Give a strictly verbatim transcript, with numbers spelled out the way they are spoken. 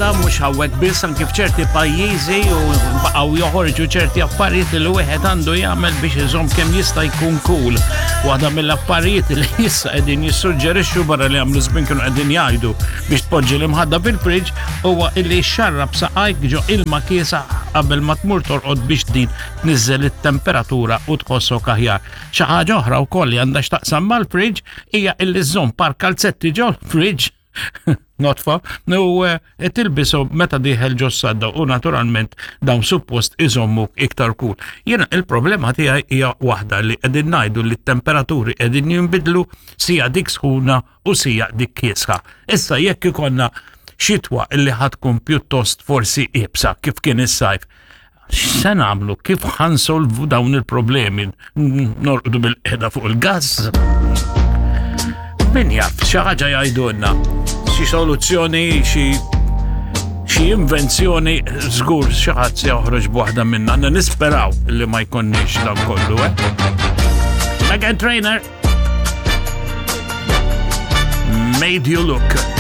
moda mhux hawnhekk biss, anke f'ċerti pajjiżi, u baqgħu joħorġu ċerti affarijiet li wieħed għandu jagħmel biex iżomm kemm jista' jkun cool. Waħda mill-affarijiet li issa qegħdin jissuġġerixxu, barra li għamlu żmien kienu qegħdin jgħidu biex tpoġġi l-imħadda fil-fridge, huwa illi xarrab saqajk ġo ilma kiesaħ qabel ma tmur torqod biex din tniżżel it-temperatura u tħossok aħjar. Xi ħaġa oħra wkoll li għandha x'taqsam mal-fridge hija illi żżomm par kalzetti ġol fridge notfa u eh, tilbisu meta dieħel ġo sadda u naturalment dawn suppost iżommu iktar cool. Jiena il-problema tiegħi hija waħda, li qegħdin ngħidu li t-temperaturi qegħdin jinbidlu, sija dik sħuna u sija dik kiesħa. Issa jekk ikollna xitwa illi ħa tkun pjuttost forsi iebsa kif kien is-sajf, x'se nagħmlu? Kif ħa nsolvu dawn il-problemi? Norqdu bilqiegħda fuq il-gas? Min jaf, xi ħaġa jgħidulna, xi soluzzjoni, xi xi invenzjoni, żgur xi ħadd se joħroġ b'waħda minna. Għandna nisperaw li ma jkollniex dan kollu, eh? Meghan Trainor. Made You Look.